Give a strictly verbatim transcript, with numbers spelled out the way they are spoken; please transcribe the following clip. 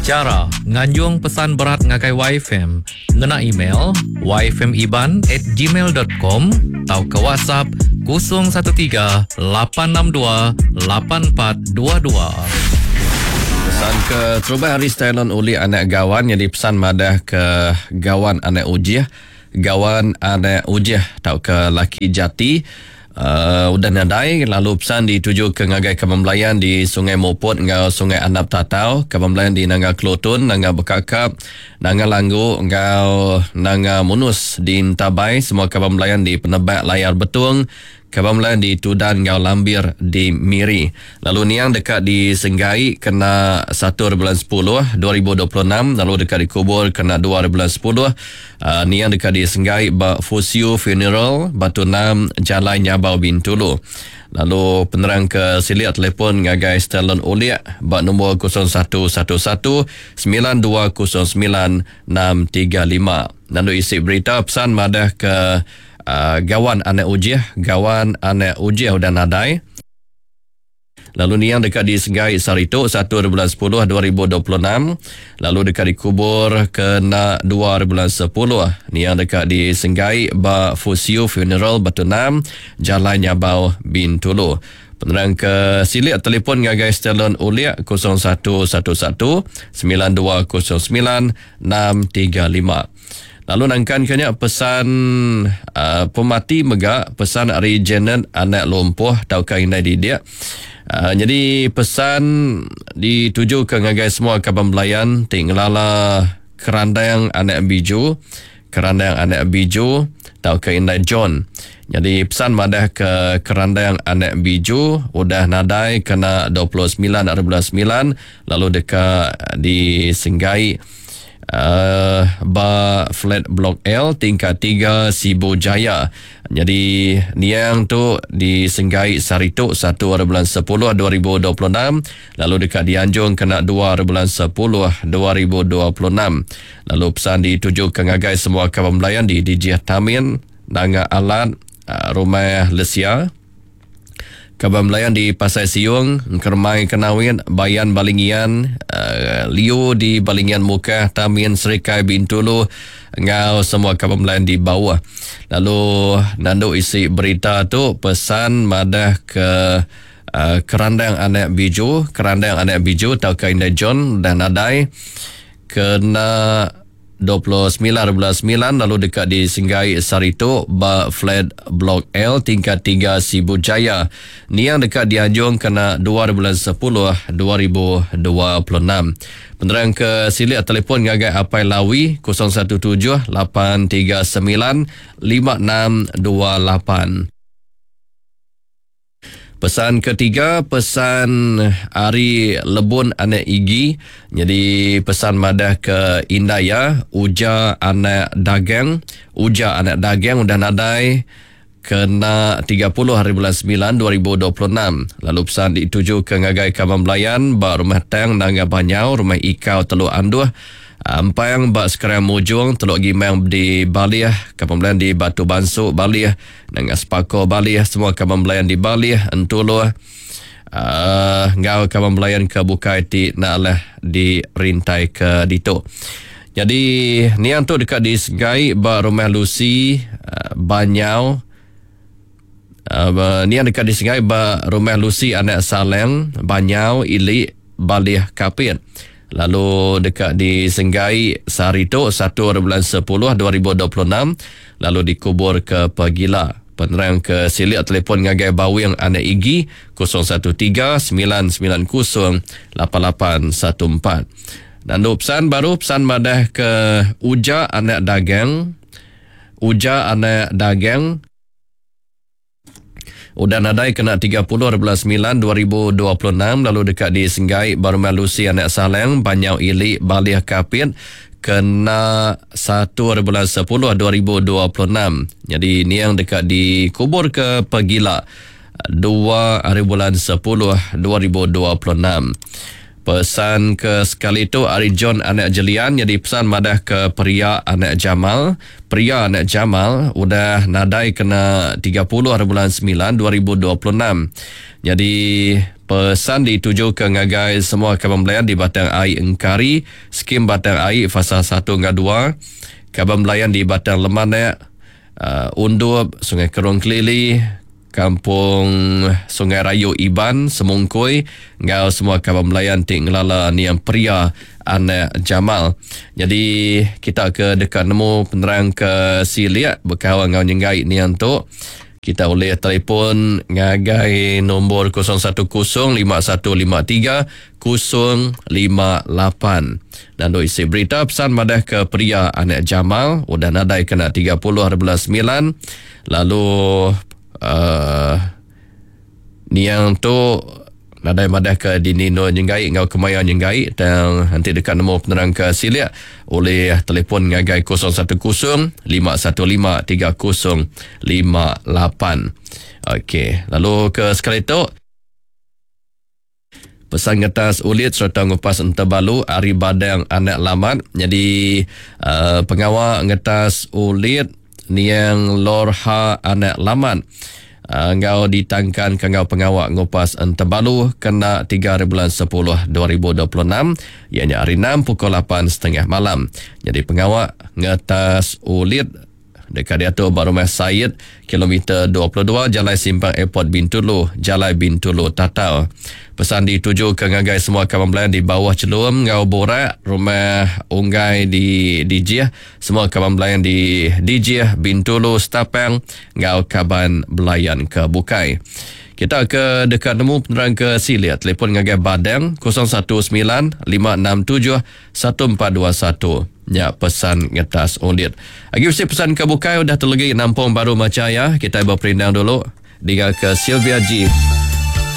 Chara nganjung pesan berat ngagai Y F M ngena email y f m iban at gmail dot com tauka WhatsApp kosong satu tiga lapan enam dua lapan empat dua dua. Pesan ke terubah hari Stylon Uli anak gawan yang dipesan madah ke gawan anak ujih, gawan anak ujih tauka laki jati. Uh, udah nadai lalu pesan dituju ke ngagai Kebembelayan di Sungai Mopot ngau Sungai Anap Tatau, Kebembelayan di Nanga Kelutun, Nanga Bekakap, Nanga Langgu ngau Nanga Munus di Entabai, semua Kebembelayan di Penebak Layar Betung, Kebembelayan di Tudan ngau Lambir di Miri. Lalu niang dekat di Senggai kena satu bulan sepuluh dua ribu dua puluh enam, lalu dekat dikubur kena dua bulan sepuluh. Uh, niang dekat di Senggai ba Fusiu Funeral Batu Enam Jalai Nyabau Bintulu. Lalu penerang ke silik telefon ngagai Stellan Uliak ba nombor kosong satu satu satu sembilan dua kosong sembilan enam tiga lima. Lalu isi berita pesan madah ke Uh, gawan anak ujih, gawan anak ujih udah nadai. Lalu niang dekat di Senggai Saritu satu bulan sepuluh dua ribu dua puluh enam, lalu dekat dikubur kena dua bulan sepuluh. Niang dekat di Senggai ba Fusiu Funeral Batu Enam, Jalan Nyabau Bintulu. Penerang ke silik telefon ngagai Stellan Uliak kosong satu satu satu sembilan dua kosong sembilan enam tiga lima. Lalu nangkan kenya pesan uh, pemati mega pesan ari Janet anak lumpuh tauka indai didik. Uh, jadi pesan dituju ke ngagai semua kaban belayan ti ngelala kerandang anak biju, kerandang anak biju tauka indai John. Jadi pesan madah ke kerandang anak biju udah nadai kena dua puluh sembilan hari bulan sembilan lalu dekat disenggai Uh, ba flat blok L tingkat tiga Sibu Jaya. Jadi niang tu disenggai saritu satu hari bulan sepuluh dua ribu dua puluh enam, lalu dekat dianjung kena dua hari bulan sepuluh dua ribu dua puluh enam. Lalu pesan dituju ke ngagai semua kawan belayan di D J Tamin, Nanga Alat, uh, Rumah Lesia. Kaban belayan di Pasai Siung, Kermai Kenawin, Bayan Balingian, uh, Liu di Balingian Mukah, Tamin Serikai Bintulu, ngau semua kaban belayan di bawah. Lalu nandu isi berita tu pesan madah ke uh, kerandang anak biju, kerandang anak biju tauka indai John dan nadai kena dua puluh sembilan bulan sembilan lalu dekat di Senggai Saritu ba flat blok L tingkat tiga Sibu Jaya. Niang dekat dianjung kena dua bulan sepuluh dua ribu dua puluh enam. Penerang ke silik telefon ngagai Apai Lawi kosong satu tujuh lapan tiga sembilan lima enam dua lapan. Pesan ketiga, pesan Ari Lebun anak Igi. Jadi pesan madah ke Indaya, Uja anak dagang, Uja anak dagang udah nadai kena tiga puluh hari bulan sembilan dua ribu dua puluh enam. Lalu pesan dituju ke ngagai Kaban Belayan ba Rumah Tang Nanga Banyau, Rumah Ikau Teluk Anduh, Ampang ba Sekarang Mujung, Teluk Gimang di Baliah, Kaban Belayan di Batu Bansuk Baliah, Nanga Sepako Baliah, semua Kaban Belayan di Baliah, Entuluh, uh, ngau Kaban Belayan ke Bukai ti nak lah dirintai ke ditu. Jadi niang tu dekat di Segai ba Rumah Lucy, uh, Banyau. Uh, niang dekat di Segai ba Rumah Lucy anak Saleng, Banyau, Ilik, Baliah, Kapit. Lalu dekat di Senggai sehari tu satu bulan sepuluh dua ribu dua puluh enam, lalu dikubur ke Pegila. Penerang ke silik telefon ngagai Bawing anak Igi kosong satu tiga sembilan sembilan kosong lapan lapan satu empat. Dan pesan baru pesan madah ke Uja anak dagang, Uja anak dagang udah nadai kena tiga puluh bulan sembilan dua ribu dua puluh enam, lalu dekat di Senggai Barumah Lucy anak Saleng, Banyau Ilik, Baliah Kapit kena satu bulan sepuluh dua ribu dua puluh enam. Jadi niang dekat dikubur ke Pegila dua hari bulan sepuluh dua ribu dua puluh enam. Pesan ke sekali tu ari John Anak Jelian jadi pesan madah ke Peria Anak Jamal. Peria Anak Jamal udah nadai kena tiga puluh hari bulan sembilan dua ribu dua puluh enam. Jadi pesan dituju ke ngagai semua kaban belayan di Batang Ai Engkari, skim Batang Ai fasa satu hingga dua, kaban belayan di Batang Lemanak, uh, Undup, Sungai Kerung Kelili, Kampung Sungai Rayu Iban, Semungkui, ngau semua kaban belayan ti ngelala niang Peria Anak Jamal. Jadi kita ke dekat nemu penerang ke silik berkawan ngau nyenggai niang tu, kita boleh telefon ngagai nombor kosong satu kosong lima satu lima tiga kosong lima lapan. Dan duk isi berita pesan madah ke Peria Anak Jamal udah nadai kena tiga puluh hari bulan sembilan. Lalu Uh, niang tu nadai madah ke dini no nyenggai ngau kemaya nyenggai tang nanti dekat nemu penerang ke silik oleh telefon ngagai kosong satu kosong lima satu lima tiga kosong lima lapan. Okey, lalu ke sekali tu pesan ngetas ulit serta ngupas entebalu ari Badang Anak Lamat. Jadi uh, pengawal ngetas ulit niang Lorha Anak Lamat uh, ngau ditangkan ke ngau pengawak ngupas entebalu kena tiga hari bulan sepuluh dua ribu dua puluh enam, ianya hari enam pukul lapan setengah malam. Jadi pengawak ngetas ulit dekat diatur ba rumah Said kilometer dua puluh dua Jalan Simpang Airport Bintulu, Jalan Bintulu Tatau. Pesan dituju ke ngagai semua kawan belayan di bawah Celum ngau Borak, rumah Unggai di Dijih, semua kawan belayan di Dijih, Bintulu, Setapang ngau kaban belayan ke Bukai. Kita ke dekat nemu penerang ke Silia, telefon ngagai Badang kosong satu sembilan lima enam tujuh satu empat dua satu. Ya, pesan ngetas ulit. Agi mesti pesan ke Bukai udah terlegi nampung baru maca ya. Kita berperindang dulu. Dengar ke Sylvia G.